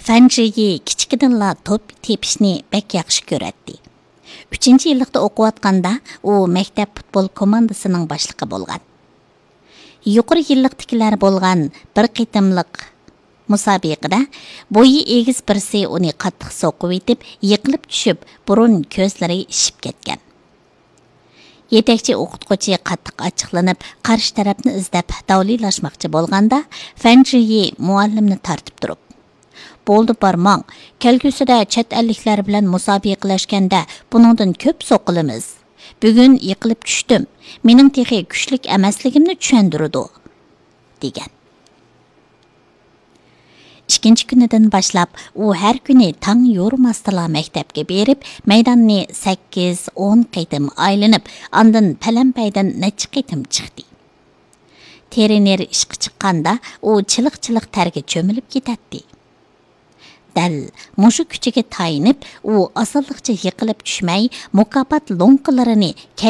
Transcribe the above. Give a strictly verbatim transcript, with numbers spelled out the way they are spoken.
فەنجىيى كىچىكىدىنلا توپ تېپىشنى بەك ياخشى كۆرەتتى. ئۈچىنچى يىللىقتا ئوقۇۋاتقاندا ئۇ مەكتەپ پۇتبول كوماندىسىنىڭ باشلىقى بولغان. يۇقىرى يىللىقتىكىلەر بولغان بىر قېتىملىق مۇسابىقىدە بويى ئېگىز بىرسى ئۇنى قاتتىق سوقۇۋېتىپ، يىقىلىپ چۈشۈپ، بۇرۇن كۆزلىرى ئىششىپ كەتكەن. يېتەكچى ئوقۇتقۇچى قاتتىق ئاچچىقلىنىپ، قارشى تەرەپنى ئىزدەپ داۋلىلاشماقچى بولغاندا، فەنجىيى مۇئەللىمنى تارتىپ تۇرۇپ، «بولدى، بارماڭ. كەلگۈسىدە چەت ئەللىكلەر بىلەن مۇسابىقىلەشكەندە بۇنىڭدىن كۆپ سوقۇلىمىز. بۈگۈن يىقىلىپ چۈشتۈم. مېنىڭ تېخى كۈچلۈك ئەمەسلىكىمنى چۈشەندۈرىدۇ» دېگەن. ئىككىنچى كۈنىدىن باشلاپ ئۇ ھەر كۈنى تاڭ يورۇماستىلا مەكتەپكە بېرىپ، مەيداننى سەككىز، ئون قېتىم ئايلىنىپ، ئاندىن پەلەمپەيدىن نەچچە قېتىم چىقتى. ترېنېر ئىشقا چىققاندا ئۇ چىلىق-چىلىق تەرگە چۆمۈلۈپ كېتەتتى. دەل مۇشۇ كۈچىگە تايىنىپ، ئۇ ئاسانلىقچە يىقىلىپ چۈشمەي، مۇكاپات لوڭقىلىرىنى